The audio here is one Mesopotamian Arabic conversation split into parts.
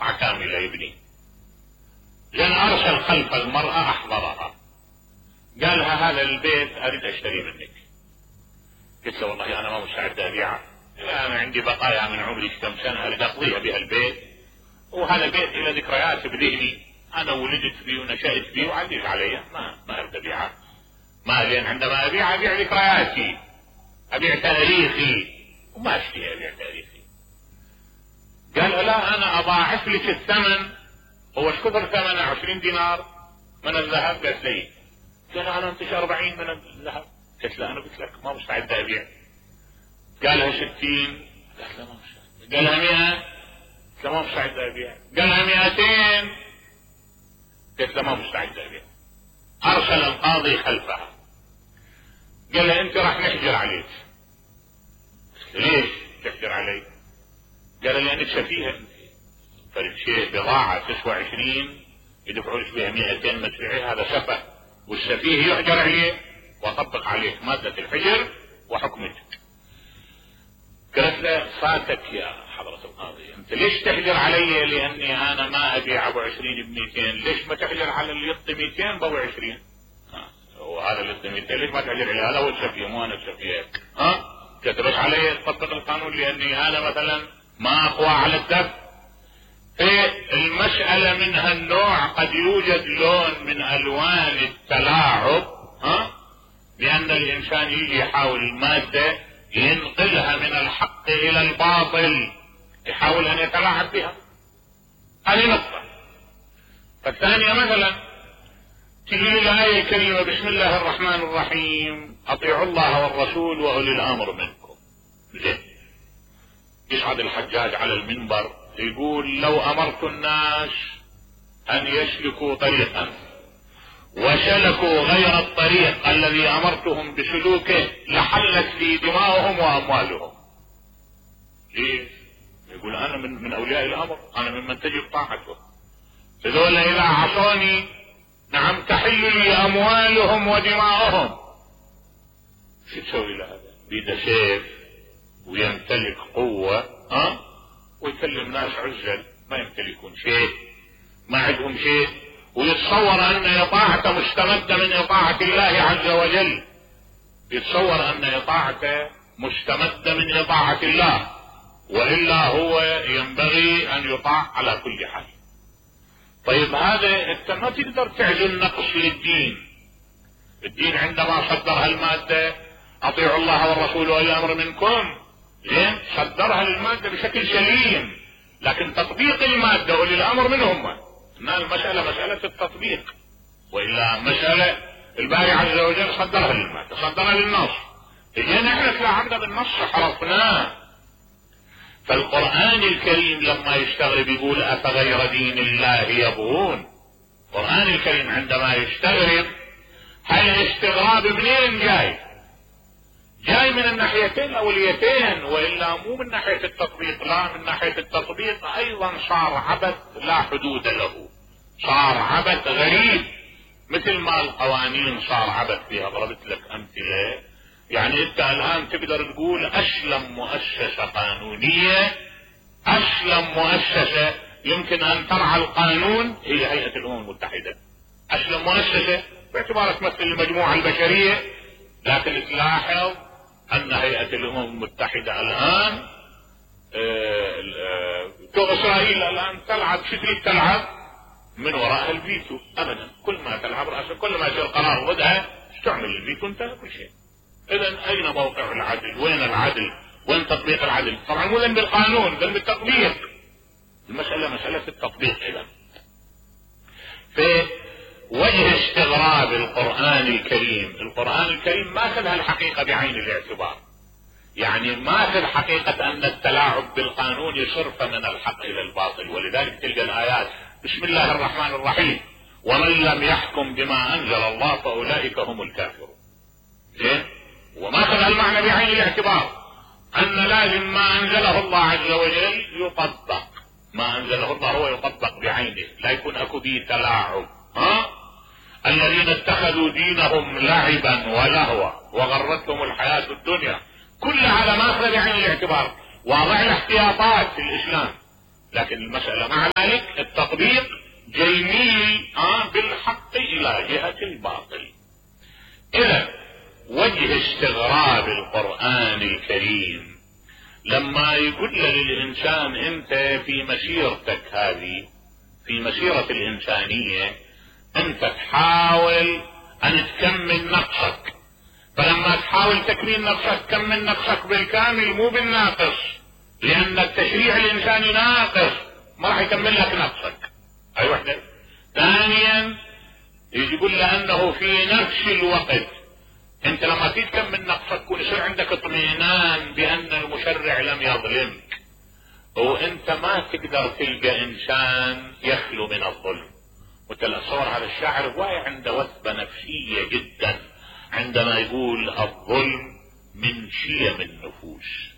قطعة كاملة يبني. لأن أرسل خلف المرأة أحضرها، قالها هذا البيت أريد أشتري منك. قلت له والله أنا ما مستعد أبيعه، أنا عندي بقايا من عمري كم سنة أريد أقضيها بها البيت، وهذا بيت إلى ذكريات بذهني، أنا ولدت فيه ونشأت فيه وعزيز علي، ما أريد أبيعه. ما لين عندما أبيع ذكرياتي، أبيع تاريخي، وما أشتري أبيع تاريخي. قال لا أنا أضاعف لك الثمن. هو ايش كثر ثمنه؟ 20 دينار من الذهب. قالت لي قال انا انتج 40 من الذهب. قلت له انا قلت لك ما مستعد ابيع. قالها 60. قالت له ما مستعد. قالها 100. قلت له ما مستعد ابيع. قالها 200. قلت له ما مستعد ابيع. ارسل القاضي خلفها، قال له انت راح نحجر عليك. ليش تحجر علي؟ قال لانك سفيهه، فالشيء بضاعة تسوى 20 يدفعوا لك بها 200 ما تبيعها، هذا سفه، والسفيه يحجر عليه وطبق عليك مادة الحجر وحكمك. قالت له فاتك يا حضرة القاضي، انت ليش تحجر علي؟ لاني انا ما ابيع ابو 20 ب200، ليش ما تحجر على اللي يعطي 200 بابو 20؟ وهذا اللي يعطي 200 ليش ما تحجر عليه؟ هذا هو السفيه مو انا السفيه. كتبت علي تطبق القانون لاني انا مثلا ما اقوى على الدفع. المسألة من هالنوع قد يوجد لون من الوان التلاعب، لان الانسان يجي يحاول المادة ينقلها من الحق الى الباطل، يحاول ان يتلاعب بها. هذه نقطة. فالثانية مثلا تجي الآية الكريمة بسم الله الرحمن الرحيم اطيعوا الله والرسول واولي الامر منكم. زين، يصعد الحجاج على المنبر يقول لو امرت الناس ان يسلكوا طريقا وسلكوا غير الطريق الذي امرتهم بسلوكه لحلت لي دماؤهم واموالهم. ليش؟ يقول انا من اولياء الامر، انا ممن تجب طاعته، هذول اذا عصوني نعم تحل لي اموالهم ودماؤهم. شو تسوي له هذا؟ بيده سيف ويمتلك قوة، ويكلم ناس عزل ما يمتلكون شيء، ما عندهم شيء، ويتصور ان اطاعته مستمدة من اطاعة الله عز وجل، يتصور ان اطاعته مستمدة من اطاعة الله، والا هو ينبغي ان يطاع على كل حال. طيب هذا انت ما تقدر تعزل نقص للدين. الدين عندما صدر هالمادة اطيعوا الله والرسول واولي الامر منكم، زين، صدرها للمادة بشكل سليم، لكن تطبيق المادة اولي الامر من هم؟ ان المسألة مسألة التطبيق، والا مسألة الباري عز وجل صدرها للمادة، صدرها للنص، اجينا احنا تلاعبنا بالنص حرفناه. فالقرآن الكريم لما يستغرب يقول افغير دين الله يبغون. القرآن الكريم عندما يستغرب هل الاستغراب منين جاي؟ جاي من الناحيتين الاوليتين، والا مو من ناحية التطبيق، لا من ناحية التطبيق ايضا صار عبث لا حدود له، صار عبث غريب، مثل ما القوانين صار عبث فيها. ضربت لك امثلة، يعني انت الان تقدر تقول اسلم مؤسسة قانونية، اسلم مؤسسة يمكن ان ترعى القانون هي هيئة الامم المتحدة. اسلم مؤسسة باعتبارها تمثل المجموعة البشرية، لكن تلاحظ ان هيئة الامم المتحدة الان اسرائيل الان تلعب شكل تلعب من وراء الفيتو ابدا. كل ما تلعب رأسها، كل ما يصير قرار ضدها تعمل الفيتو، انتهى كل شيء. اذا اين موقع العدل؟ وين العدل؟ وين تطبيق العدل؟ طبعا مو ذنب بالقانون، ذنب بالتطبيق. المسألة مسألة التطبيق. اذا في وجه استغراب القرآن الكريم، القرآن الكريم ما اخذ الحقيقة بعين الاعتبار، يعني ما اخذ حقيقة ان التلاعب بالقانون يصرف من الحق الى الباطل. ولذلك تلقى الايات بسم الله الرحمن الرحيم ومن لم يحكم بما انزل الله فاولئك هم الكافرون. زين، وما اخذ المعنى بعين الاعتبار ان لازم ما انزله الله عز وجل يطبق، ما انزله الله هو يطبق بعينه، لا يكون اكو به تلاعب. الذين اتخذوا دينهم لعبا ولهوا وغرتهم الحياة الدنيا، كل على ما اخذ بعين الاعتبار، واضع الاحتياطات في الاسلام، لكن المسألة مع ذلك التطبيق جيميل بالحق الى جهة الباطل. اذا وجه استغراب القرآن الكريم لما يقول للإنسان انت في مسيرتك هذه، في مسيرة الإنسانية انت تحاول ان تكمل نقصك، فلما تحاول تكميل نقصك كمل نقصك بالكامل مو بالناقص، لان التشريع الانساني ناقص ما راح يكمل لك نقصك. اي وحدة. ثانيا يقول لانه في نفس الوقت انت لما تكمل نقصك يكون يصير عندك اطمئنان بان المشرع لم يظلمك، وانت ما تقدر تلقى انسان يخلو من الظلم. وتصور هذا الشاعر واعي عنده وثبة نفسية جدا عندما يقول الظلم من شيم النفوس،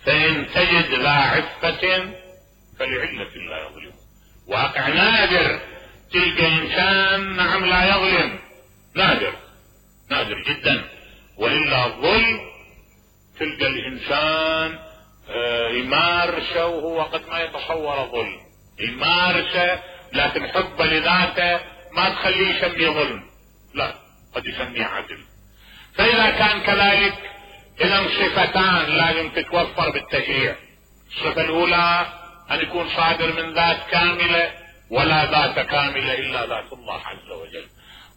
فإن تجد ذا عفة فلعلة لا يظلم. واقع نادر تلقى انسان نعم لا يظلم، نادر جدا. وإلا الظلم تلقى الانسان يمارسه وهو قد ما يتصور ظلم، يمارسه لكن حب لذاته ما تخليه يسميه ظلم، لا قد يسميه عدل. فإذا كان كذلك إذا صفتان لازم تتوفر بالتشريع. الصفة الأولى أن يكون صادر من ذات كاملة، ولا ذات كاملة إلا ذات الله عز وجل.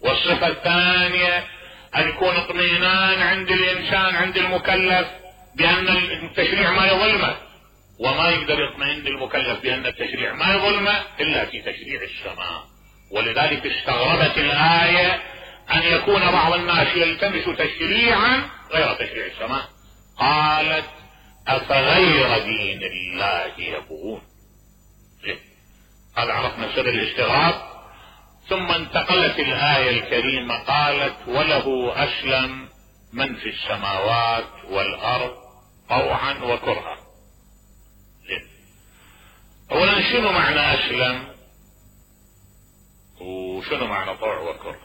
والصفة الثانية أن يكون اطمئنان عند الإنسان عند المكلف بأن التشريع ما يظلمه، وما يقدر يطمئن المكلف بأن التشريع ما يظلمه إلا في تشريع السماء. ولذلك استغربت الآية أن يكون بعض الناس يلتمس تشريعا غير تشريع السماء. قالت أفغير دين الله يبغون. هذا عرفنا سر الاستغراب. ثم انتقلت الآية الكريمة قالت وله أسلم من في السماوات والأرض طوعا وكرها. اولا شنو معنى اسلم وشنو معنى طوع وكره؟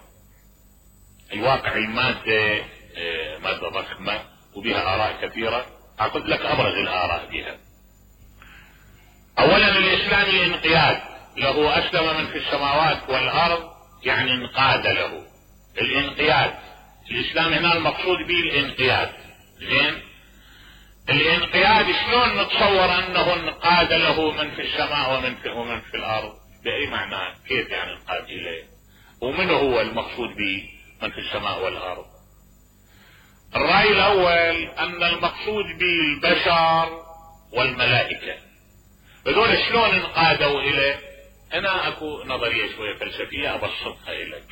الواقع المادة مادة ضخمة وبها آراء كثيرة، أعطيت لك أبرز الآراء بها. أولا الإسلام الانقياد له، أسلم من في السماوات والأرض يعني انقاد له. الانقياد الإسلام هنا المقصود به الانقياد. زين، الانقياد شلون نتصور أنه انقاد له من في السماء ومن في الأرض؟ بأي معنى؟ كيف يعني انقاد إليه؟ ومن هو المقصود به من في السماء والأرض؟ الرأي الأول أن المقصود به البشر والملائكة. هذول شلون انقادوا إليه؟ أنا أكو نظرية شوية فلسفية أبسطها إليك.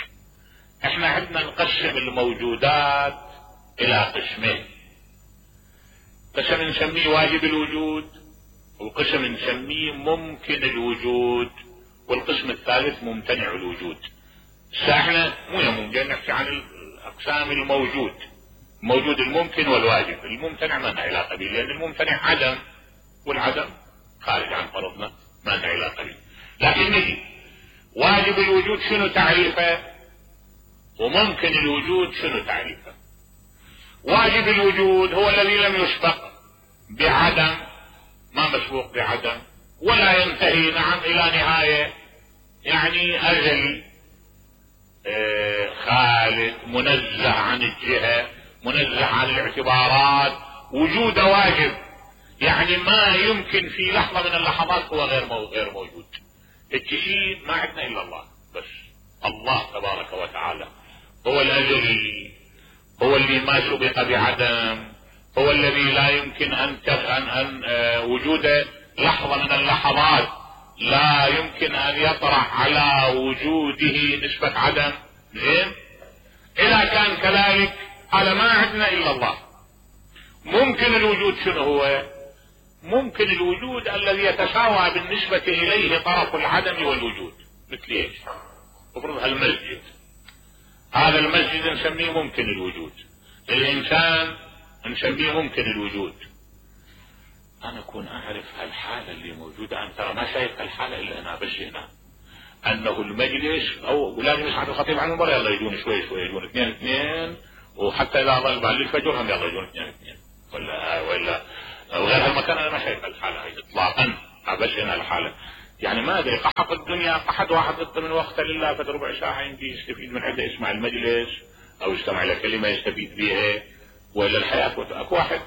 احنا عندنا نقسم الموجودات إلى قسمين، قسم نسميه واجب الوجود، وقسم نسميه ممكن الوجود، والقسم الثالث ممتنع الوجود. احنا مو ممكن نحكي عن الأقسام الموجود، موجود الممكن والواجب. الممتنع ما لنا علاقة به، لأن الممتنع عدم، والعدم خارج عن فرضنا ما لنا علاقة به. لكن نجي واجب الوجود شنو تعريفه، وممكن الوجود شنو تعريفه. واجب الوجود هو الذي لم يسبق بعدم، ما مسبوق بعدم، ولا ينتهي نعم إلى نهاية، يعني أزلي خالد، منزه عن الجهة، منزه عن الاعتبارات، وجود واجب، يعني ما يمكن في لحظة من اللحظات هو غير موجود. الشيء ما عندنا إلا الله بس. الله تبارك وتعالى هو الأزلي، هو اللي ما سبق بعدم، هو الذي لا يمكن أن وجود لحظة من اللحظات لا يمكن أن يطرح على وجوده نسبة عدم. زين، إذا كان كذلك هذا ما عندنا إلا الله. ممكن الوجود شنو هو؟ ممكن الوجود الذي يتساوى بالنسبة إليه طرف العدم والوجود. مثل ايش؟ افرض المسجد، هذا المسجد نسميه ممكن الوجود، الإنسان نسميه ممكن الوجود. أنا أكون أعرف هالحالة اللي موجودة، أنا ترى ما شايف هالحالة إلا أنا بس هنا، أنه المجلس أو لازم يصعد الخطيب عن المنبر يلا يجون شوي شوي، يجون اثنين، وحتى إذا ظل بعد الفجر هم يلا يجون اثنين ولا وغير هالمكان. أنا ما شايف هالحالة هي إطلاقا، بس هنا الحالة. يعني ما ادري، قحط الدنيا، قحط واحد يقضي من وقته لله فد ربع ساعه يمكن يستفيد من عده، يسمع المجلس او يستمع الى كلمه يستفيد بها، ولا الحياه. اكو واحد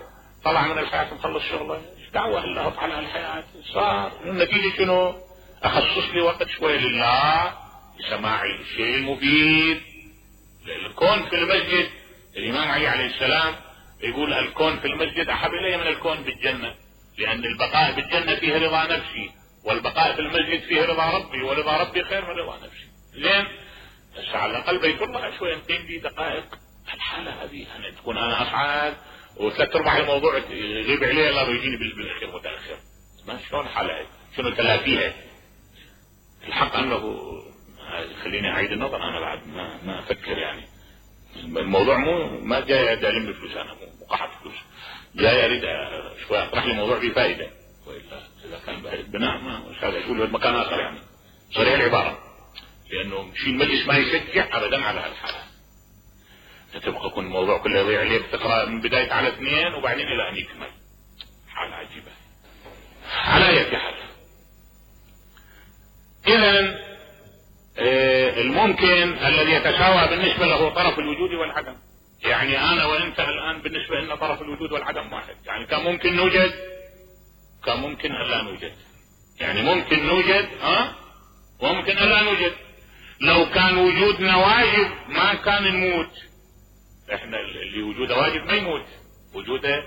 طلع من الحياه مخلص شغله، ايش دعوه الله على الحياه؟ صار النتيجه شنو؟ اخصص لي وقت شوي لله لسماع الشيء المفيد. الكون في المسجد، الامام علي عليه السلام يقول الكون في المسجد احب الي من الكون بالجنه، لان البقاء بالجنه فيه رضا نفسي، والبقاء في المسجد فيه رضا ربي، ورضا ربي خير من رضا نفسي. زين، بس على الاقل بيت الله شوي نقيم لي دقائق الحاله هذه، انا تكون انا اصعد وثلاث ارباع الموضوع يغيب عليه الله ويجيني بالاخير متاخر. ما شلون حالها؟ شنو تلافيها؟ الحق انه خليني اعيد النظر، انا بعد ما افكر يعني. الموضوع ما جاي الم فلوس، انا مو قحط فلوس، جاي اريد شوي اطرح لي موضوع فيه فائده، والا اذا كان بناء ما هذا يقول مكان اخر يعني صريح العباره، لانه شيء المجلس ما يشجع ابدا على هالحاله. تبقى يكون الموضوع كله يضيع عليه، بتقرا من بدايه على 2 وبعدين الى ان يكمل. حاله عجيبه. على اي حال، اذا الممكن الذي يتساوى بالنسبه له طرف الوجود والعدم. يعني انا وانت الان بالنسبه لنا طرف الوجود والعدم واحد، يعني كان ممكن نوجد، كان ممكن الا نوجد، يعني ممكن نوجد وممكن الا نوجد. لو كان وجودنا واجب ما كان نموت، احنا اللي وجوده واجب ما يموت، وجوده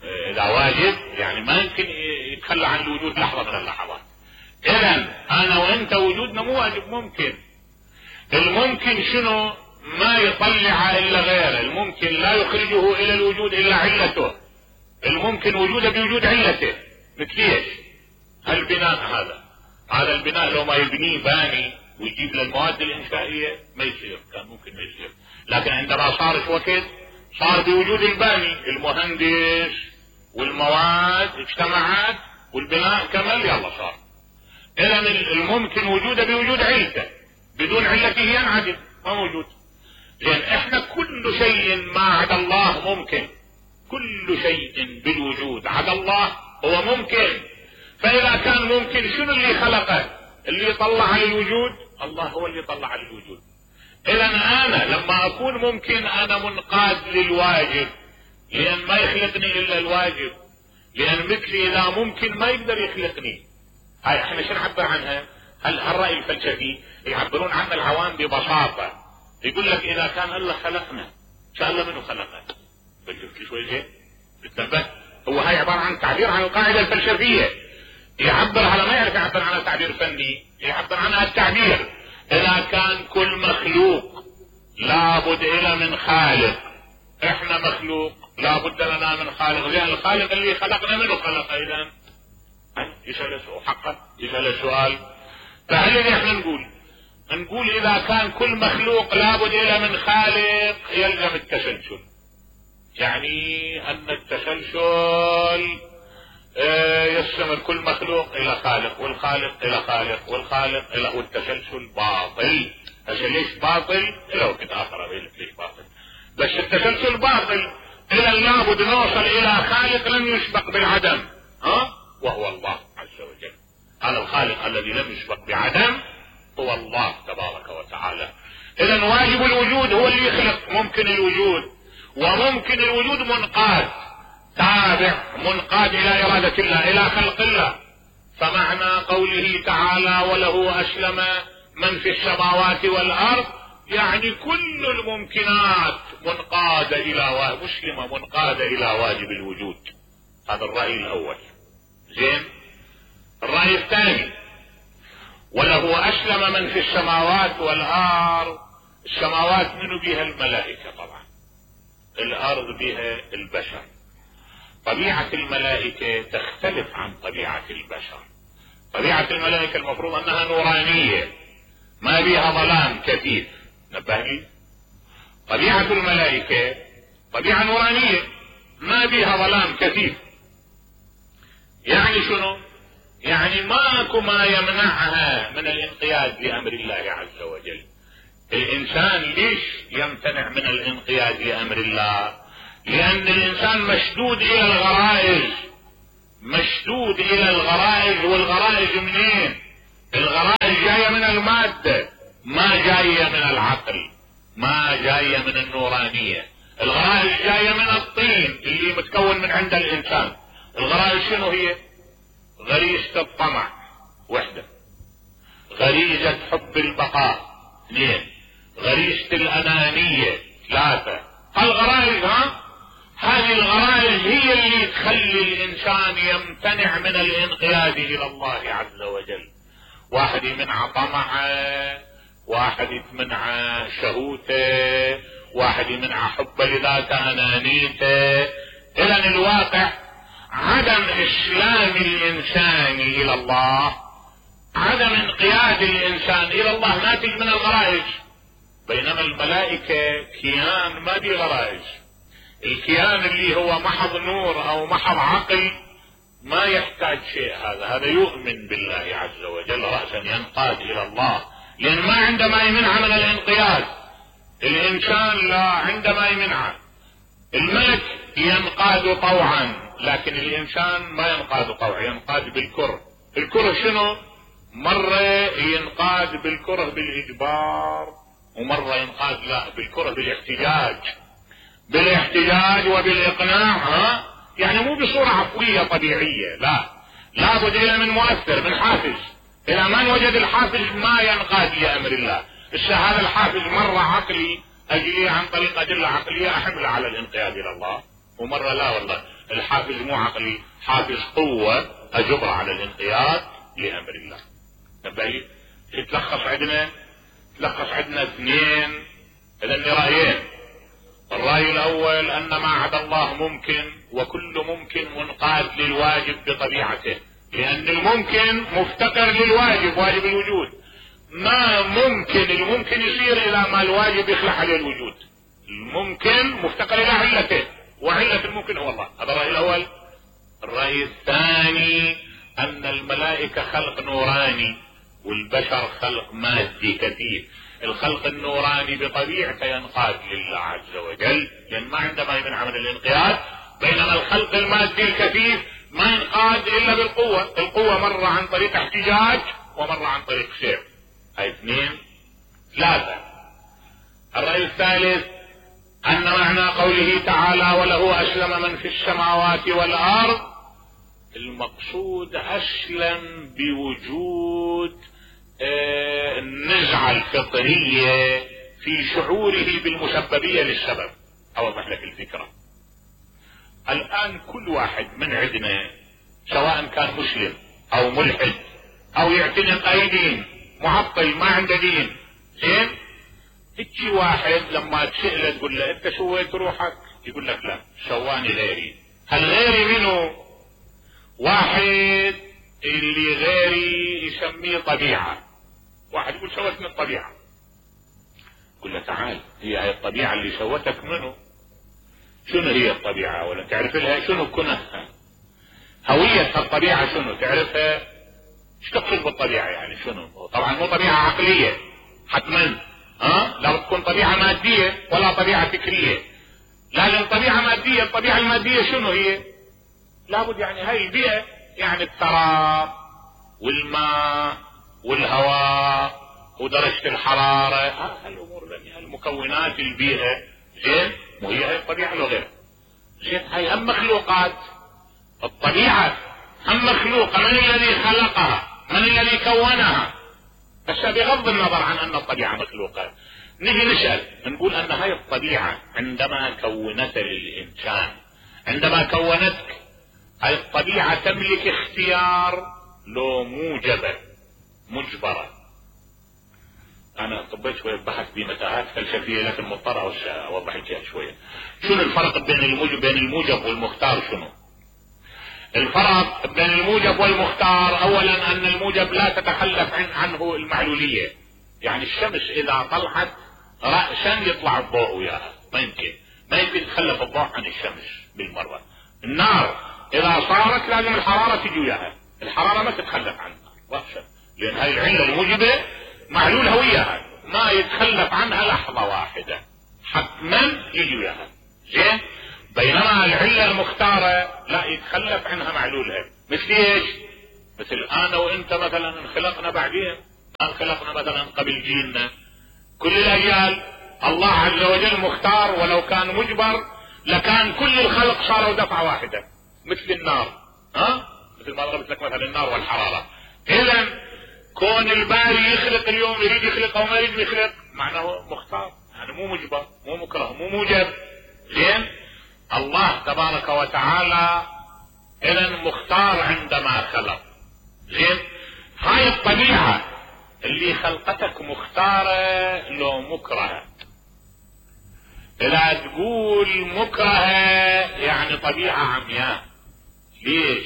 اذا واجب يعني ما يمكن يتخلى عن الوجود لحظه من اللحظات. اذا انا وانت وجودنا مو واجب، ممكن. الممكن شنو؟ ما يطلع الا غيره، الممكن لا يخرجه الى الوجود الا علته، الممكن وجوده بوجود علته. مثل ايش؟ البناء هذا البناء لو ما يبنيه باني ويجيب له المواد الانشائيه ما يصير، كان ممكن ما يصير، لكن عندما صار شو وقت صار بوجود الباني، المهندس والمواد اجتمعت والبناء كمل، يلا صار. اذا الممكن وجوده بوجود علته، بدون علته ينعدم، ما موجود. لان احنا كل شيء ما عدا الله ممكن، كل شيء بالوجود عدا الله هو ممكن. فاذا كان ممكن شنو اللي خلقه؟ اللي يطلع على الوجود الله، هو اللي يطلع على الوجود. اذا انا لما اكون ممكن انا منقاد للواجب، لان ما يخلقني الا الواجب، لان مثلي اذا ممكن ما يقدر يخلقني. هاي احنا شو نعبر عنها؟ هالرأي الفلسفي يعبرون عنه العوام ببساطة، يقول لك اذا كان الله خلقنا ان شاء الله منو خلقه؟ بشوف شوي زين بتنبه. هو هاي عبارة عن تعبير عن القاعدة الفلسفية، يعبر على ما يعرف يعبر عنها تعبير فني، يعبر عنها التعبير. اذا كان كل مخلوق لابد الى من خالق، احنا مخلوق لابد لنا من خالق، لان الخالق اللي خلقنا منه خلق. اذا يسأل حقا يسأل السؤال، فهل احنا نقول اذا كان كل مخلوق لابد الى من خالق يلزم التسلسل، يعني ان التسلسل يستمر كل مخلوق الى خالق، والخالق الى خالق، والخالق الى، والتسلسل باطل. هسه ليش باطل؟ الى وقت اخر اقول لك ليش باطل، بس التسلسل باطل. اذا لابد نوصل الى خالق لم يسبق بالعدم، وهو الله عز وجل. هذا الخالق الذي لم يسبق بعدم هو الله تبارك وتعالى. اذا واجب الوجود هو اللي يخلق ممكن الوجود، وممكن الوجود منقاد تابع، منقاد الى ارادة الله، الى خلق الله. فمعنى قوله تعالى وله اسلم من في السماوات والارض، يعني كل الممكنات منقادة الى مسلمة منقادة الى واجب الوجود. هذا الرأي الاول. زين، الرأي الثاني وله اسلم من في السماوات والارض. السماوات منو بها؟ الملائكة طبعا، الارض بها البشر. طبيعة الملائكة تختلف عن طبيعة البشر. طبيعة الملائكة المفروض انها نورانية ما بها ظلام كثيف، نبه لي. طبيعة الملائكة طبيعة نورانية ما بها ظلام كثيف. يعني شنو؟ يعني ماكو ما يمنعها من الانقياد لامر الله عز وجل. الانسان ليش يمتنع من الانقياد لامر الله؟ لان الانسان مشدود الى الغرائز، مشدود الى الغرائز. والغرائز منين؟ الغرائز جاية من المادة، ما جاية من العقل، ما جاية من النورانية. الغرائز جاية من الطين اللي متكون من عند الانسان. الغرائز شنو هي؟ غريزة الطمع وحدة، غريزة حب البقاء اثنين، غريزة الانانية ثلاثة. الغرائز هذه الغرائز هي اللي تخلي الانسان يمتنع من الانقياد الى الله عز وجل. واحد يمنع طمعه، واحد يمنع شهوته، واحد يمنع حبه لذاته انانيته. اذا الواقع عدم اسلام الانسان الى الله، عدم انقياد الانسان الى الله ناتج من الغرائز. بينما الملائكة كيان ما دي غرائز. الكيان اللي هو محض نور او محض عقل ما يحتاج شيء. هذا يؤمن بالله عز وجل رأسا ينقاد الى الله، لان ما عندما يمنع من الانقياد. الانسان لا، عندما يمنع. الملك ينقاد طوعا، لكن الانسان ما ينقاد طوعا، ينقاد بالكره. الكره شنو؟ مرة ينقاد بالكره بالاجبار، ومرة ينقاد لا بالكره بالاحتجاج. بالاحتجاج وبالاقناع، يعني مو بصورة عفوية طبيعية، لا، لابد إلى من مؤثر، من حافز. اذا ما وجد الحافز ما ينقاد لامر الله. هذا الحافز مرة عقلي اجي عن طريق ادلة عقلية احمله على الانقياد الى الله، ومرة لا والله الحافز مو عقلي، حافز قوة اجبر على الانقياد لامر الله. نبهي تلخص عندنا اثنين. اذا رأيين. الرأي الاول ان ما عدا الله ممكن، وكل ممكن منقاد للواجب بطبيعته، لان الممكن مفتقر للواجب، واجب الوجود. ما ممكن الممكن يصير الى ما الواجب يخلع عليه الوجود. الممكن مفتقر الى علته، وعلة الممكن هو الله. هذا الرأي الاول. الرأي الثاني ان الملائكة خلق نوراني والبشر خلق مادي كثيف. الخلق النوراني بطبيعته ينقاد لله عز وجل، لان ما عندما يمنع من الانقياد. بينما الخلق المادي الكثيف ما ينقاد الا بالقوة. القوة مرة عن طريق احتجاج ومرة عن طريق سير. هاي اثنين. ثلاثة. الرأي الثالث ان معنى قوله تعالى وله اسلم من في السماوات والارض، المقصود اسلم بوجود النزعة الفطرية في شعوره بالمسببية للسبب. اوضح لك الفكرة. الان كل واحد من عندنا سواء كان مسلم او ملحد او يعتنق اي دين، معطل ما عنده دين، زين، تجي واحد لما تسأله تقول له انت سويت روحك، يقول لك لا، سواني غيري. هل غيري منه؟ واحد اللي غيري يسميه طبيعة. واحد يقول سويت من الطبيعة، يقول له تعال، هي الطبيعة اللي سوتك منه. شنو هي الطبيعة؟ ولا تعرف لها شنو كنها؟ هوية الطبيعة شنو تعرفها؟ ايش تقصد بالطبيعة يعني شنو؟ طبعا مو طبيعة عقلية حتما، لا تكون طبيعة مادية ولا طبيعة فكرية. لازم طبيعة مادية. الطبيعة المادية شنو هي؟ لابد يعني هاي البيئة، يعني التراب والماء والهواء ودرجة الحرارة، هالامور المكونات البيئة، زين، وهي هاي الطبيعة لو غير زين. هاي هم مخلوقات. الطبيعة هم مخلوقة. من الذي خلقها؟ من الذي كونها؟ بس بغض النظر عن ان الطبيعة مخلوقة، نجي نسأل نقول ان هاي الطبيعة عندما كونت للانسان، عندما كونتك، هاي الطبيعة تملك اختيار لو موجبة مجبرة؟ انا طبيت شوية بحث بمتاهات فلسفية لكن مضطر اوضح لك شوية. شنو الفرق بين الموجب والمختار؟ شنو الفرق بين الموجب والمختار؟ اولا ان الموجب لا تتخلف عنه المعلولية. يعني الشمس اذا طلعت رأسا يطلع الضوء وياها، ما يمكن يتخلف الضوء عن الشمس بالمرة. النار اذا صارت لازم الحرارة تجي وياها، الحرارة ما تتخلف عنها رأسا، لان هاي العلة الموجبة معلولها وياها، ما يتخلف عنها لحظة واحدة، حتما يجي وياها، زين. بينما العلة المختارة لا يتخلف عنها معلولها. مثل ايش؟ مثل انا وانت مثلا انخلقنا بعدين، انخلقنا مثلا قبل جيلنا، كل الاجيال الله عز وجل مختار، ولو كان مجبر لكان كل الخلق صاروا دفعة واحدة مثل النار، مثل ما ضربت لك مثلا النار والحرارة. اذا كون الباري يخلق اليوم يريد يخلق او ما يريد يخلق معناه مختار، يعني مو مجبر مو مكره مو موجب. زين الله تبارك وتعالى اذا مختار عندما خلق. زين هاي الطبيعة اللي خلقتك مختارة لو مكرهة. لا تقول مكرهة يعني طبيعة عمياء. ليش؟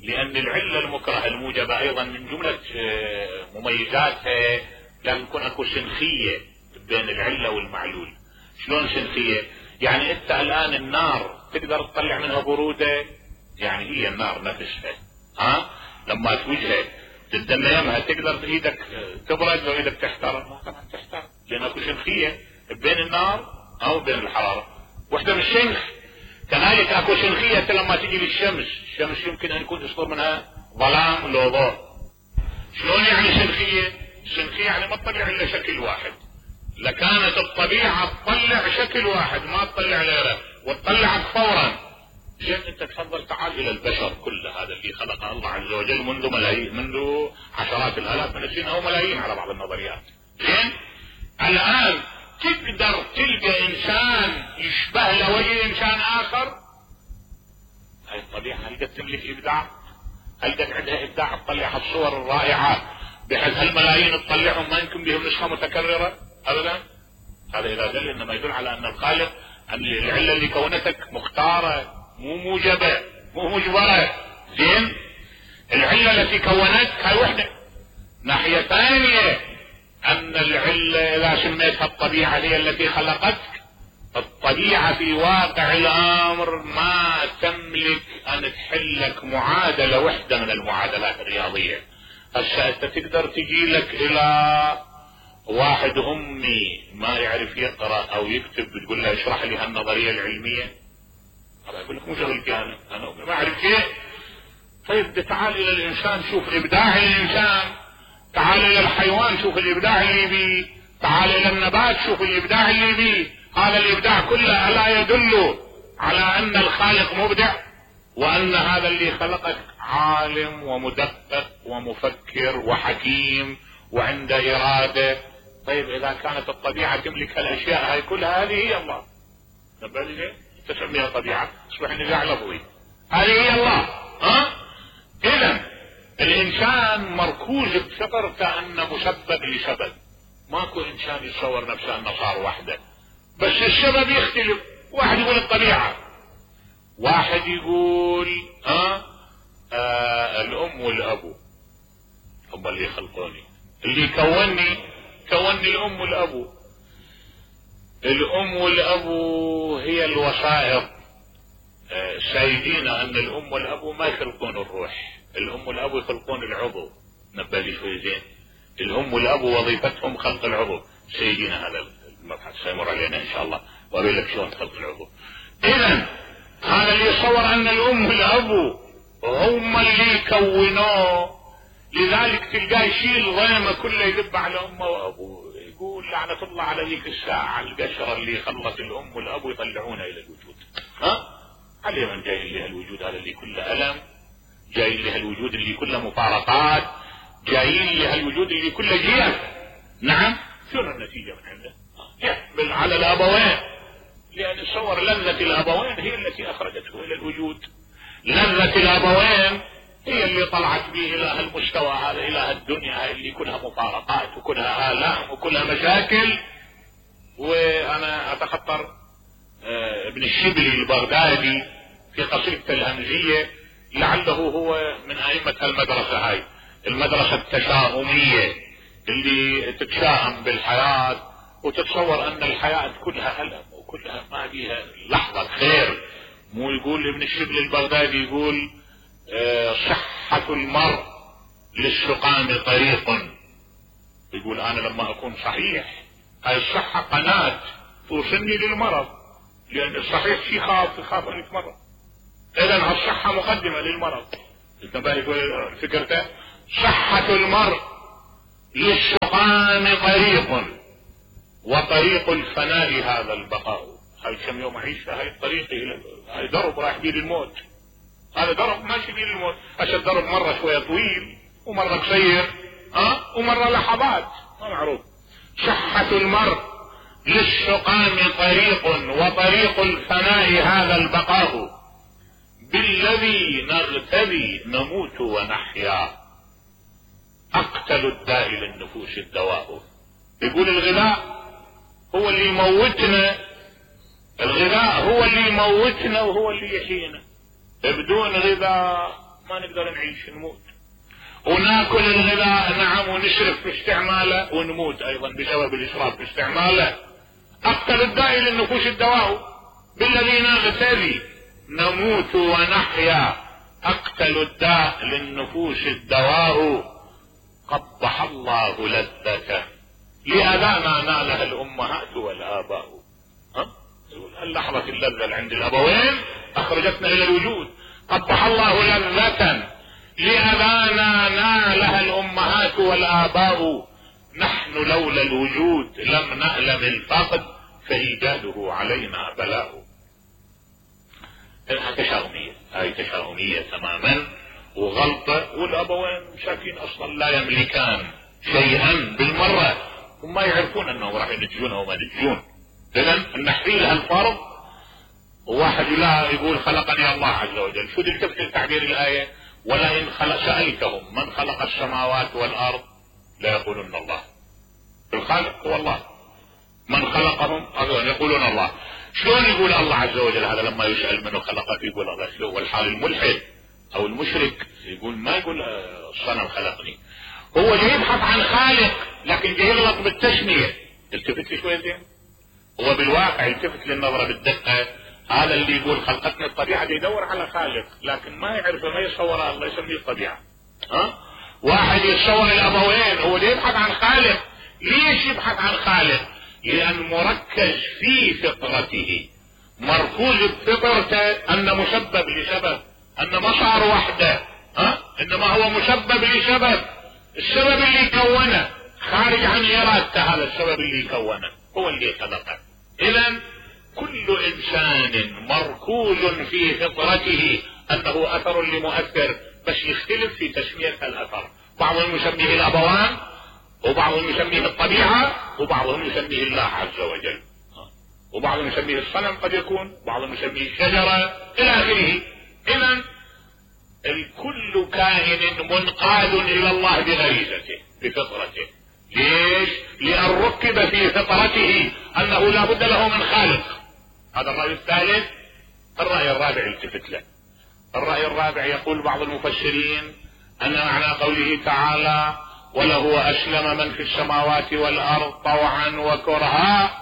لان العلة المكرهة الموجبة ايضا من جملة مميزاتها لازم يكون اكو سنخية بين العلة والمعلول. شلون سنخية؟ يعني انت الان النار تقدر تطلع منها برودة، يعني هي النار نفسها لما توجهها تدميمها تقدر ايدك تبرد وايدك تحترق؟ ما طبعا تحترق، لان اكو سنخية بين النار او بين الحرارة، وحدة من الشنخ. كذلك اكو سنخية لما تجي للشمس، الشمس يمكن ان يكون يصدر منها ظلام لو ضوء. شلون يعني سنخية؟ سنخية يعني ما تطلع الا شكل واحد. لكانت الطبيعة تطلع شكل واحد ما تطلع غيره وتطلعك فورا. زين انت تفضل تعال الى البشر كل هذا اللي خلقه الله عز وجل منذ ملايين، منذ عشرات الالاف من السنين او ملايين على بعض النظريات. زين الان تقدر تلقى انسان يشبه له وجه انسان اخر؟ هاي الطبيعة هل قد تملك ابداع؟ هل قد عندها ابداع تطلع الصور الرائعة بحيث هالملايين تطلعهم ما يمكن بهم نسخة متكررة ابدا؟ هذا اذا دل انما يدل على ان الخالق ان العلة اللي كونتك مختارة مو موجبة مو مجبرة. زين العلة التي كونتك هاي وحدة. ناحية ثانية ان العلة اذا سميتها الطبيعة هي التي خلقتك، الطبيعة في واقع الامر ما تملك ان تحلك معادلة وحدة من المعادلات الرياضية. هسه انت تقدر تجي لك الى واحد امي ما يعرف يقرأ او يكتب بتقول له اشرح لي هالنظرية العلمية، هذا يقول لك مو شغلتي انا ما اعرف شيء. طيب تعال الى الانسان شوف ابداع الانسان، تعال الى الحيوان شوف الابداع اللي بيه، تعال الى النبات شوف الابداع اللي بيه. هذا الابداع كله الا يدل على ان الخالق مبدع وان هذا اللي خلقك عالم ومدقق ومفكر وحكيم وعنده ارادة. طيب اذا كانت الطبيعة تملك الاشياء هاي كلها هذه هي الله. نبالي تسميها طبيعة تصبح نزاع لفظي. هذه هي الله. اذا الانسان مركوز بفطر كأنه مسبب لسبب. ماكو انسان يتصور نفسه انه صار وحده، بس السبب يختلف. واحد يقول الطبيعة، واحد يقول الام والابو هم اللي خلقوني، اللي كوني الام والابو. الام والابو هي الوسائط. سيدينا ان الام والابو ما يخلقون الروح، الام والابو يخلقون العضو. نبالي شوي زين. الام والابو وظيفتهم خلق العضو. سيدينا هذا المبحث سيمر علينا ان شاء الله واقول لك شلون خلق العضو. اذا هذا اللي يصور ان الام والابو هم اللي كونوه، لذلك تلقاه يشيل ضيمه كله يذب على امه وابوه، يقول لعنة الله على ذيك الساعة القشرة اللي خلت الام والابو يطلعونها الى الوجود. علي من جاي لها الوجود هذا اللي كله الم، جاي لها الوجود اللي كله مفارقات، جايين لها الوجود اللي كله جيف. نعم شنو النتيجة من عنده؟ يحمل على الابوين، لان تصور لذة الابوين هي التي اخرجته الى الوجود. لذة الابوين هي اللي طلعت به الى هالمستوى هذا، الى هالدنيا اللي كلها مفارقات وكلها آلام وكلها مشاكل. وانا اتخطر ابن الشبلي البغدادي في قصيدته الهمزية لعله هو من ائمة المدرسة هاي، المدرسة التشاؤمية اللي تتشائم بالحياة وتتصور ان الحياة كلها ألم وكلها ما فيها لحظة خير. مو يقول ابن الشبلي البغدادي يقول صحة المرء للسقام طريق. يقول انا لما اكون صحيح هاي الصحة قناة توصلني للمرض، لان الصحيح يخاف ان يتمرض. اذا هالصحة مقدمة للمرض. فكرته صحة المرء للشقام طريق وطريق الفناء هذا البقاء. هاي كم يوم اعيش هاي الطريق، هاي درب رايح بيه للموت، هذا درب ماشي بيه للموت. عشان درب مرة شوية طويل ومرة قصير ومرة لحظات ما معروف. صحة المرء للشقام طريق وطريق الفناء هذا البقاء بالذي نغتدي نموت ونحيا اقتل الداء للنفوس الدواء. يقول الغذاء هو اللي يموتنا، الغذاء هو اللي يموتنا وهو اللي يحيينا. بدون غذاء ما نقدر نعيش، نموت. وناكل الغذاء نعم ونشرف في استعماله ونموت ايضا بسبب الاسراف في استعماله. اقتل الداء للنفوس الدواء بالذي نغتدي نموت ونحيا اقتل الداء للنفوس الدواء. قبح الله لذته لأذانا نالها الامهات والاباء. اللحظة اللذة عند الابوين اخرجتنا الى الوجود. قبح الله لذة لأذانا نالها الامهات والاباء. نحن لولا الوجود لم نألم الفقد فإيجاده علينا بلاء. تشاؤمية، هاي تشاؤمية تماما وغلطة. والابوين شاكين اصلا لا يملكان شيئا بالمرة، وما يعرفون انهم راح ينتجون او ما ينتجون. اذا نحيل هالفرض. وواحد لا يقول خلقني الله عز وجل. شو اللي تفسر تعبير الآية؟ ولئن سألتهم من خلق السماوات والارض لا يقولون الله. الخالق هو الله. من خلقهم يقولون الله. شلون يقول الله عز وجل هذا لما يسأل منه خلقك يقول الله؟ شلون؟ والحال الملحد او المشرك يقول ما يقول الصنم خلقني. هو جاي يبحث عن خالق لكن جاي يغلط بالتسمية. التفت لي شوية زين. هو بالواقع يلتفت للنظرة بالدقة. هذا اللي يقول خلقتني الطبيعة يدور على خالق لكن ما يعرف ما يصور الله يسميه الطبيعة. واحد يتصور الابوين هو يبحث عن خالق. ليش يبحث عن خالق؟ لان مركز في فطرته، مركوز بفطرته ان مسبب لسبب، ان ما صار وحده انما هو مسبب لسبب. السبب اللي كونه خارج عن ارادته، هذا السبب اللي كونه هو اللي خلقه. اذا كل انسان مركوز في فطرته انه اثر لمؤثر، بس يختلف في تسمية الاثر. بعضهم يسميه الابوان وبعضهم يسميه الطبيعة وبعضهم يسميه الله عز وجل وبعضهم يسميه الصنم قد يكون، بعضهم يسميه الشجرة الى اخره. اذا الكل كائن منقاد الى الله بغريزته بفطرته. ليش؟ لان ركب في فطرته انه لا بد له من خالق. هذا الرأي الثالث. الرأي الرابع التفت له. الرأي الرابع يقول بعض المفسرين ان معنى قوله تعالى وله اسلم من في السماوات والارض طوعا وكرها،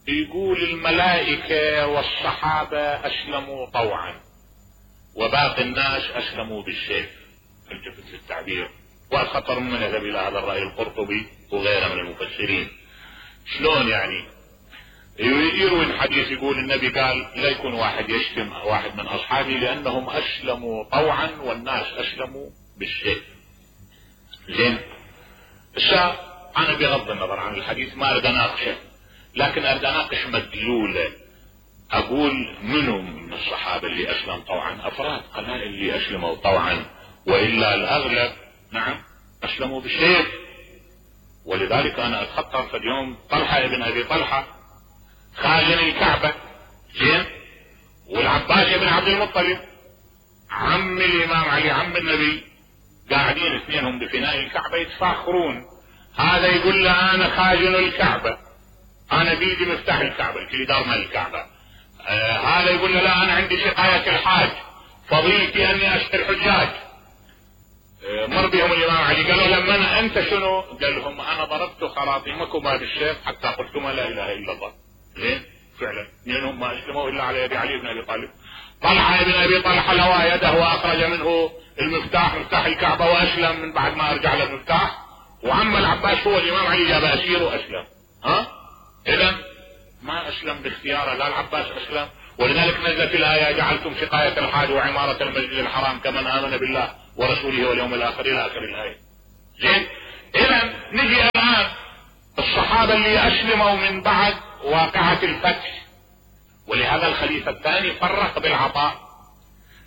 يقول الملائكة والصحابة اسلموا طوعا وباقي الناس اسلموا بالسيف. التفت للتعبير. والخطر من يذهب الى هذا الرأي القرطبي وغيره من المفسرين. شلون يعني؟ يروي الحديث يقول النبي قال لا يكون واحد يشتم واحد من اصحابه لانهم اسلموا طوعا والناس اسلموا بالسيف. زين. انا بغض النظر عن الحديث ما اريد اناقشه، لكن اريد اناقش مدلوله. اقول منو من الصحابه اللي اسلم طوعا؟ افراد قلائل اللي اسلموا طوعا، والا الاغلب نعم اسلموا بالسيف. ولذلك انا اتخطر في اليوم طلحه ابن ابي طلحه خازن الكعبه، زين، والعباس بن عبد المطلب عم الامام علي عم النبي، قاعدين اثنينهم بفناء الكعبه يتفاخرون. هذا يقول له انا خازن الكعبه، انا بيدي مفتاح الكعبه الكليدار مال الكعبه. هذا يقول له لا انا عندي سقايه الحاج، فضيلتي اني اشتري الحجاج. مر بهم الامام علي قالوا لما انت شنو؟ قال لهم انا ضربت خراطيمكما بالسيف حتى قلتما لا اله الا الله. زين فعلا منهم ما اسلموا الا على يد علي بن ابي طالب. طلحه بن ابي طلحه لوى يده واخرج منه المفتاح، مفتاح الكعبه، واسلم من بعد ما ارجع له المفتاح. وعم العباس هو الامام علي جاب اسير واسلم. اذا ما اسلم باختياره، لا العباس اسلم ولذلك نزلت الآية جعلتم سقاية الحاج وعمارة المسجد الحرام كمن آمن بالله ورسوله واليوم الآخر إلى آخر الآية. زين، إذا نجي الآن الصحابة اللي أسلموا من بعد واقعة الفتح. ولهذا الخليفة الثاني فرق بالعطاء.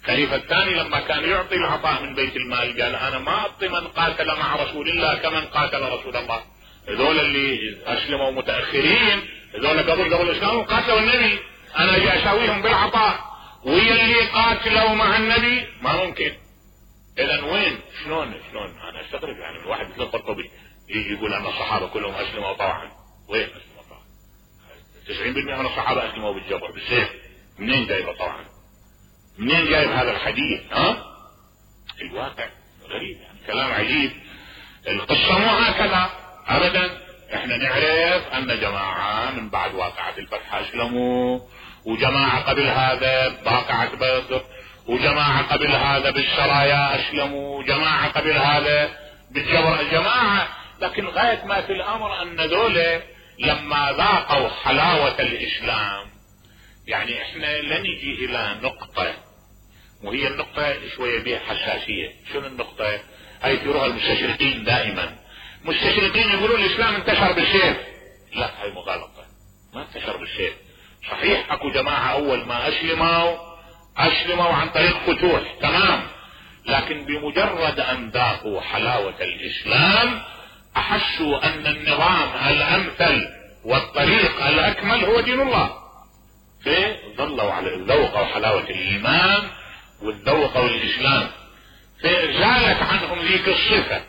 الخليفة الثاني لما كان يعطي العطاء من بيت المال قال أنا ما أعطي من قاتل مع رسول الله كمن قاتل رسول الله. هذول اللي أسلموا متأخرين، هذول قبل الإسلام قاتلوا النبي، أنا أجي أساويهم بالعطاء، ويا اللي قاتلوا مع النبي ما ممكن. إذا وين شلون أنا أستغرب يعني الواحد مثل القرطبي يجي يقول أن الصحابة كلهم أسلموا طوعا. وين أسلموا طوعا؟ 90% من الصحابة أسلموا بالجبر بالسيف. منين جايبه طوعا؟ منين جايب هذا الحديث؟ الواقع غريب يعني كلام عجيب. القصة مو هكذا ابدا. احنا نعرف ان جماعة من بعد واقعة الفتح اسلموا، وجماعة قبل هذا واقعة بدر، وجماعة قبل هذا بالسرايا اسلموا، وجماعة قبل هذا بالجبر جماعة. لكن غاية ما في الامر ان ذولا لما ذاقوا حلاوة الاسلام، يعني احنا لنجي الى نقطة، وهي النقطة شوية بها حساسية. شنو النقطة؟ هاي يثيروها المستشرقين دائما. مستشرقين يقولون الاسلام انتشر بالسيف. لا، هاي مغالطة، ما انتشر بالسيف. صحيح اكو جماعة اول ما اسلموا عن طريق فتوح، تمام، لكن بمجرد ان ذاقوا حلاوة الاسلام احسوا ان النظام الامثل والطريق الاكمل هو دين الله، فظلوا على ذوقوا حلاوة الايمان والذوقوا الاسلام، فزالت عنهم ذيك الصفة.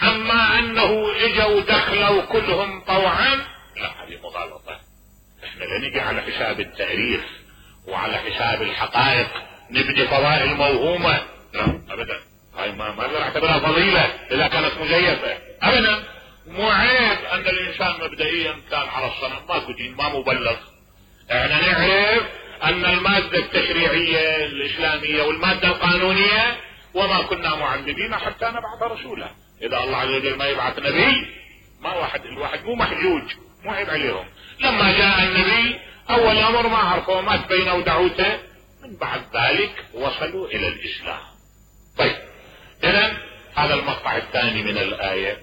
اما انه اجوا دخلوا كلهم طوعا، لا، هذه مغالطة. احنا لا نجي على حساب التاريخ وعلى حساب الحقائق نبني فضائل موهومة، لا ابدا. هاي ما اقدر اعتبرها فضيلة اذا كانت مزيفة ابدا. مو عيب ان الانسان مبدئيا كان على الصنم، ماكو دين، ما مبلغ. احنا نعرف ان المادة التشريعية الاسلامية والمادة القانونية وما كنا معذبين حتى نبعث رسولا. اذا الله عز وجل ما يبعث نبي، ما الواحد مو محجوج، مو عيب عليهم. لما جاء النبي اول امر ما عرفوا، ما تبينوا دعوته، من بعد ذلك وصلوا الى الاسلام. طيب، اذا هذا المقطع الثاني من الايه.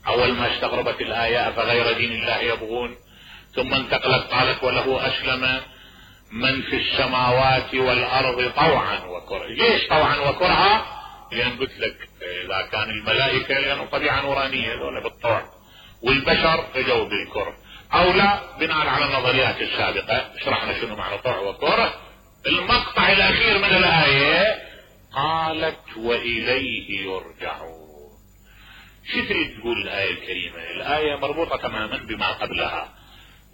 اول ما استغربت الايه افغير دين الله يبغون، ثم انتقلت قالت وله اسلم من في السماوات والارض طوعا وكرها. ليش طوعا وكرها؟ لان قلت لك اذا كان الملائكه لانه طبيعه نورانيه هذول بالطوع، والبشر اجوا بالكره، او لا بناء على النظريات السابقه شرحنا شنو معنى طوع وكره. المقطع الاخير من الايه قالت واليه يرجعون. شو تريد تقول الايه الكريمه؟ الايه مربوطه تماما بما قبلها.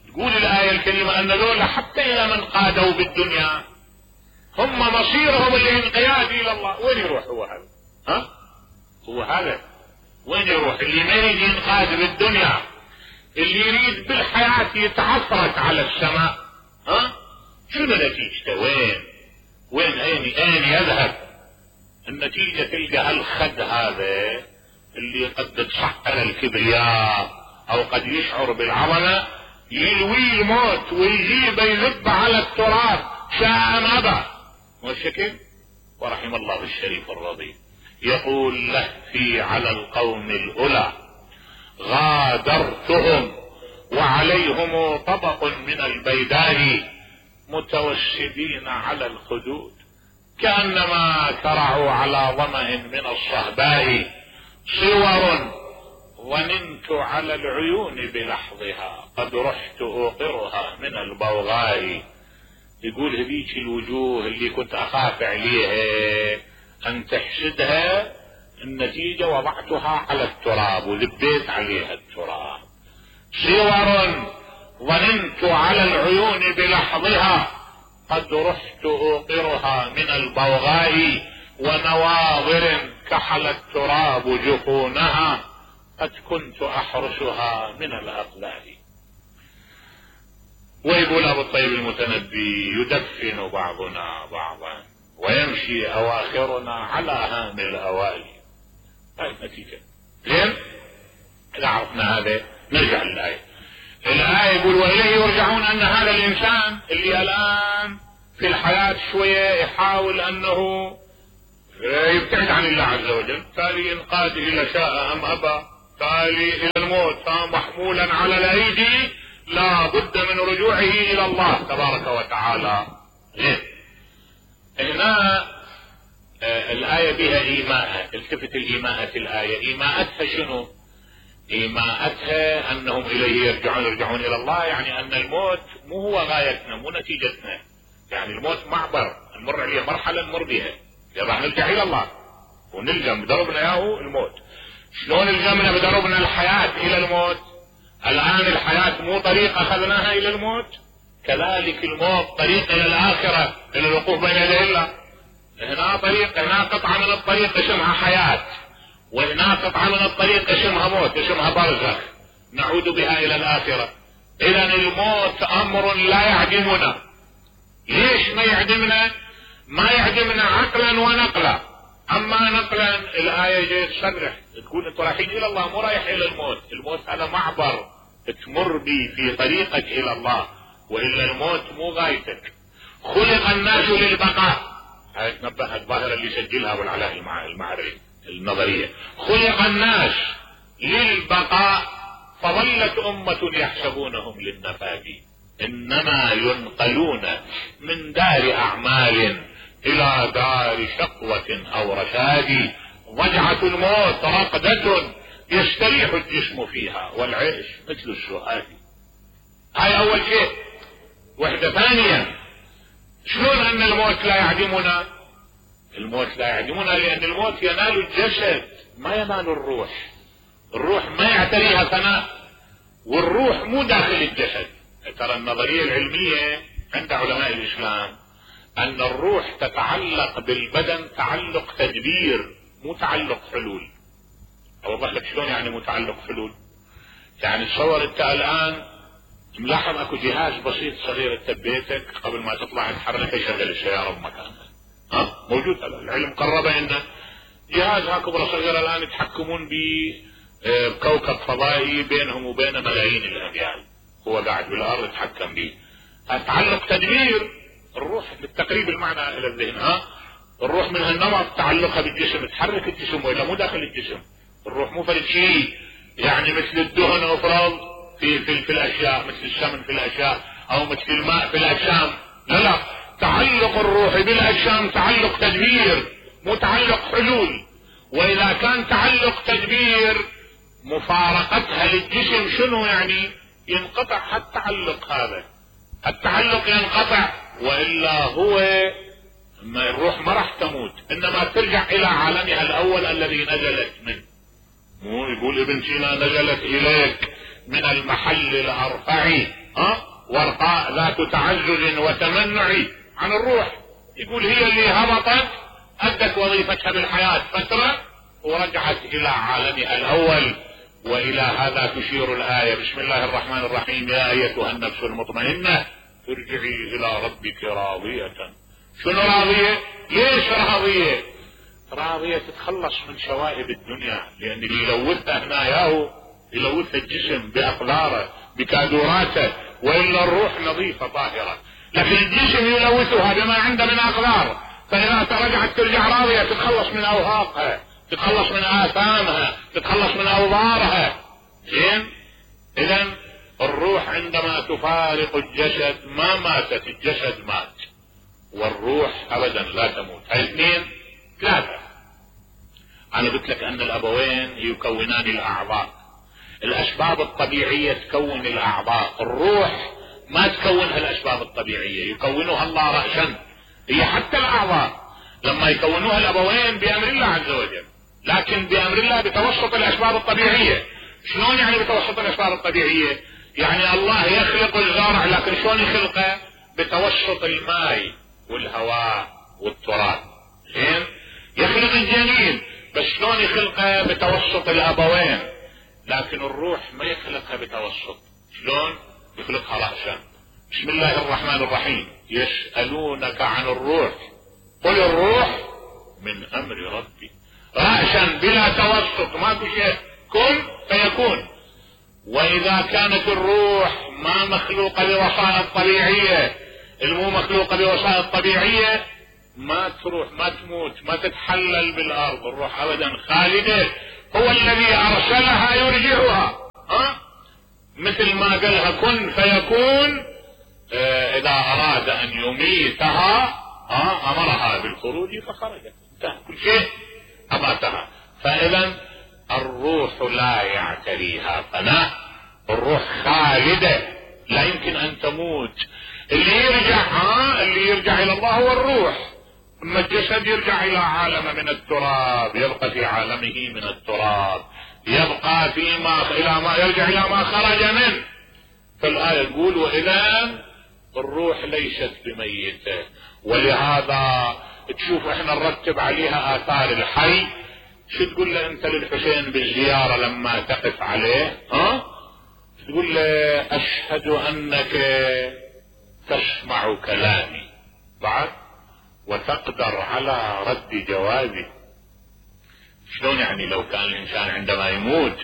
تقول الآية الكريمة أن ذولا حتى إذا من قادوا بالدنيا هم مصيرهم الانقياد إلى الله. وين يروح هو هذا؟ هو هذا وين يروح؟ اللي ما يريد ينقاد بالدنيا، اللي يريد بالحياة يتعفرت على السماء، شنو نتيجته؟ وين أين يذهب؟ النتيجة تلقى هالخد هذا اللي قد تصحر الكبرياء أو قد يشعر بالعظمة، يلوي الموت ويجيب يذب على التراب شاء ام ابى. والشكل ورحم الله الشريف الرضي يقول لهفي على القوم الاولى غادرتهم وعليهم طبق من البيداء متوسدين على الخدود كأنما كرعوا على ظمأ من الصهباء صور ونمت على العيون بلحظها قد رحت اوقرها من البوغاء. يقول هذيك الوجوه اللي كنت اخاف عليها ان تحسدها، النتيجة وضعتها على التراب وذبيت عليها التراب. صور ظننت على العيون بلحظها قد رحت اوقرها من البوغاء ونواظر كحل التراب جفونها قد كنت احرسها من الاقلال. ويقول ابو الطيب المتنبي يدفن بعضنا بعضا ويمشي اواخرنا على هام الاوالي. هاي النتيجة. زين، اذا عرفنا هذا نرجع للآية. الآية يقول واليه يرجعون، ان هذا الانسان اللي الان في الحياة شوية يحاول انه يبتعد عن الله عز وجل، تالي ينقاد الى شاء ام ابى، تالي الى الموت محمولا على الايدي، لا بد من رجوعه الى الله تبارك وتعالى. هنا الآية بها إيماء، التفت الإيماءة الآية، إيماءتها شنو؟ إيماءتها أنهم إليه يرجعون إلى الله، يعني أن الموت مو هو غايتنا مو نتيجتنا، يعني الموت معبر نمر عليه، مرحلة نمر بها، راح نرجع إلى الله ونلزم بدربنا إياه الموت. شلون الزمنا بدربنا الحياة إلى الموت؟ الآن الحياة مو طريق أخذناها إلى الموت، كذلك الموت طريق إلى الآخرة، إلى الوقوف بين يدي الله. هنا طريق، هنا قطعة من الطريق اسمها حياة، وهنا قطعة من الطريق اسمها موت، اسمها برزخ نعود بها إلى الآخرة. إذن الموت أمر لا يعدمنا. ليش ما يعدمنا؟ ما يعدمنا عقلا ونقلا. أما نقلا الآية جاي تصرح تقول أنتم رايحين إلى الله مو رايح إلى الموت، الموت هذا معبر تمر بي في طريقك إلى الله، وإلا الموت مو غايتك. خلق الناس للبقاء، هاي تنبه الظاهرة اللي يسجلها أبو العلاء المعري النظرية، خلق الناس للبقاء فظلت أمة يحسبونهم للنفاد، إنما ينقلون من دار أعمال إلى دار شقوة أو رشاد، ضجعة الموت رقدة يستريح الجسم فيها والعيش مثل السؤال. هاي أول شيء. وحدة ثانية، شلون أن الموت لا يعدمنا؟ الموت لا يعدمنا لأن الموت ينال الجسد ما ينال الروح، الروح ما يعتريها فناء، والروح مو داخل الجسد. ترى النظرية العلمية عند علماء الإسلام أن الروح تتعلق بالبدن تعلق تدبير مو تعلق حلول. أوضح لك شلون يعني متعلق حلول. يعني تصور أنت الآن ملاحظ اكو جهاز بسيط صغير انت ببيتك قبل ما تطلع تحركه يشغل السيارة بمكانها، موجود العلم قربه انه جهاز هكبر صغير الان يتحكمون بكوكب فضائي بينهم وبين ملايين الاميال، هو قاعد بالارض يتحكم به. تعلق تدبير الروح بالتقريب المعنى الى الذهن. الروح من هالنمط تعلقها بالجسم، تحرك الجسم والا مو داخل الجسم. الروح مو فرد شيء يعني مثل الدهن افرض في الاشياء، مثل السمن في الاشياء او مثل الماء في الاجسام، لا تعلق الروح بالاجسام تعلق تدبير مو تعلق حلول. واذا كان تعلق تدبير مفارقتها للجسم شنو يعني؟ ينقطع التعلق هذا، التعلق ينقطع، والا هو الروح ما راح تموت انما ترجع الى عالمها الاول الذي نزلت منه. مو يقول ابن سينا نزلت اليك من المحل الارفع ورقاء ذات تعزز وتمنع عن الروح، يقول هي اللي هبطت ادت وظيفتها بالحياة فترة ورجعت الى عالمها الاول. والى هذا تشير الآية بسم الله الرحمن الرحيم يا ايتها النفس المطمئنة ارجعي الى ربك راضية. شنو راضية؟ ليش راضية؟ راضية تتخلص من شوائب الدنيا، لان اللي يلوثها هنا ياهو يلوث الجسم بأقداره بكادوراته، وإلا الروح نظيفة طاهرة، لكن الجسم يلوثها بما عنده من أقدار. فإذا رجعت ترجع راضية تتخلص من أوهاقها، تتخلص من آثامها، تتخلص من أوضارها. زين؟ إذن الروح عندما تفارق الجسد ما ماتت، الجسد مات، والروح أبدا لا تموت. هاي اثنين. ثلاثة، أنا قلت لك أن الأبوين يكونان الأعضاء، الاسباب الطبيعية تكون الاعضاء، الروح ما تكونها الاسباب الطبيعية، يكونها الله رأسا. هي حتى الاعضاء لما يكونوها الابوين بامر الله عز وجل، لكن بامر الله بتوسط الاسباب الطبيعية. شلون يعني بتوسط الاسباب الطبيعية؟ يعني الله يخلق الزرع، لكن شلون يخلقه؟ بتوسط الماء والهواء والتراب. زين؟ يخلق الجنين، بس شلون يخلقه؟ بتوسط الابوين. لكن الروح ما يخلقها بتوسط، شلون يخلقها رأسا؟ بسم الله الرحمن الرحيم يسألونك عن الروح قل الروح من امر ربي، رأسا بلا توسط، ما في شيء، كن فيكون. واذا كانت الروح ما مخلوقة بوسائط طبيعية المو مخلوقة بوسائط طبيعية ما تروح ما تموت ما تتحلل بالارض، الروح ابدا خالدة، هو الذي ارسلها يرجعها. مثل ما قالها كن فيكون، اذا اراد ان يميتها امرها بالخروج فخرجت، انتهى كل شيء اماتها. فاذا الروح لا يعتريها فناء، الروح خالدة لا يمكن ان تموت. اللي يرجع الى الله هو الروح، اما الجسد يرجع الى عالم من التراب، يبقى في عالمه من التراب، يبقى يرجع الى ما خرج منه. فالآية تقول واذا الروح ليست بميتة، ولهذا تشوف احنا نرتب عليها اثار الحي. شو تقول له انت للحسين بالزيارة لما تقف عليه؟ تقول له اشهد انك تسمع كلامي بعد وتقدر على رد جوابي. شلون يعني لو كان الانسان عندما يموت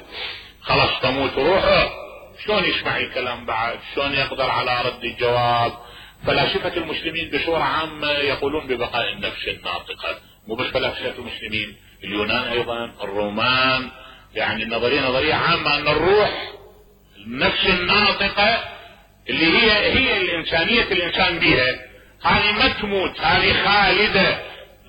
خلاص تموت روحه، شلون يسمع الكلام بعد؟ شلون يقدر على رد الجواب؟ فلاسفة المسلمين بصورة عامة يقولون ببقاء النفس الناطقة، مو بس فلاسفة المسلمين، اليونان ايضا، الرومان، يعني نظرية عامة ان الروح النفس الناطقة اللي هي الانسانية الانسان بها، هذه ما تموت، هذه خالدة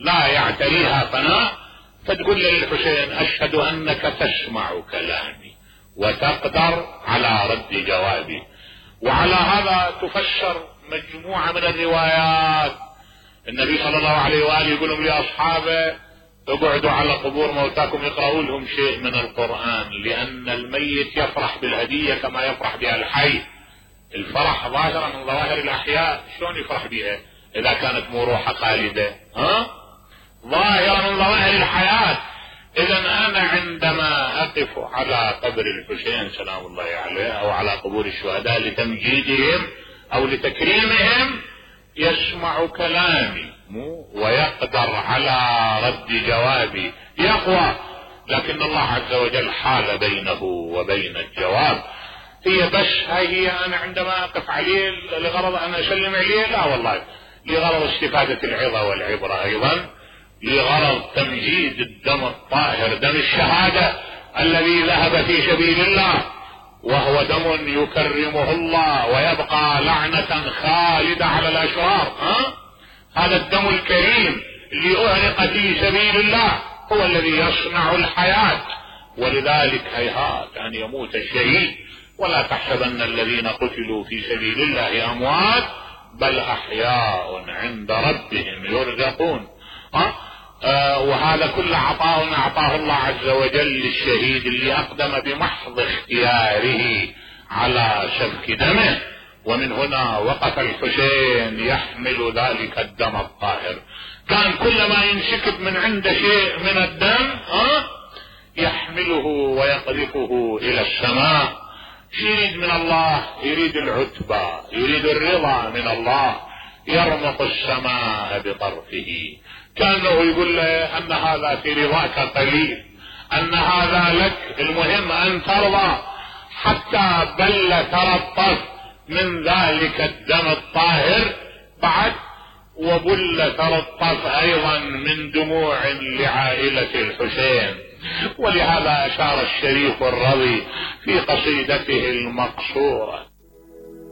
لا يعتريها فناء. فتقول للحسين اشهد انك تسمع كلامي وتقدر على رد جوابي. وعلى هذا تفسر مجموعة من الروايات. النبي صلى الله عليه وآله يقولون لأصحابه اقعدوا على قبور موتاكم يقرأوا لهم شيء من القرآن، لأن الميت يفرح بالهدية كما يفرح بها الحي. الفرح ظاهرة من ظواهر الأحياء، شلون يفرح بها إذا كانت مو روحها خالدة؟ ظاهرة من ظواهر الحياة. إذا أنا عندما أقف على قبر الحسين سلام الله عليه أو على قبور الشهداء لتمجيدهم أو لتكريمهم يسمع كلامي ويقدر على رد جوابي، يقوى. لكن الله عز وجل حال بينه وبين الجواب. هي بس هي أنا عندما أقف عليه لغرض أن أسلم عليه؟ لا والله، لغرض استفادة العظة والعبرة، أيضا لغرض تمجيد الدم الطاهر، دم الشهادة الذي ذهب في سبيل الله، وهو دم يكرمه الله ويبقى لعنة خالدة على الأشرار. هذا الدم الكريم اللي أهرق في سبيل الله هو الذي يصنع الحياة. ولذلك هيهات أن يموت الشهيد، ولا تحسبن الذين قتلوا في سبيل الله أموات بل أحياء عند ربهم يرزقون. وهذا كل عطاء أعطاه الله عز وجل للشهيد اللي أقدم بمحض اختياره على سفك دمه. ومن هنا وقف الحسين يحمل ذلك الدم الطاهر، كان كلما ينسكب من عنده شيء من الدم يحمله ويقذفه إلى السماء. يريد من الله، يريد العتبى، يريد الرضا من الله، يرمق السماء بطرفه. كانه يقول له ان هذا في رضاك قليل، ان هذا لك، المهم ان ترضى. حتى بل ترطف من ذلك الدم الطاهر بعد، وبل ترطف ايضا من دموع لعائلة الحسين. ولهذا اشار الشريف الرضي في قصيدته المقصورة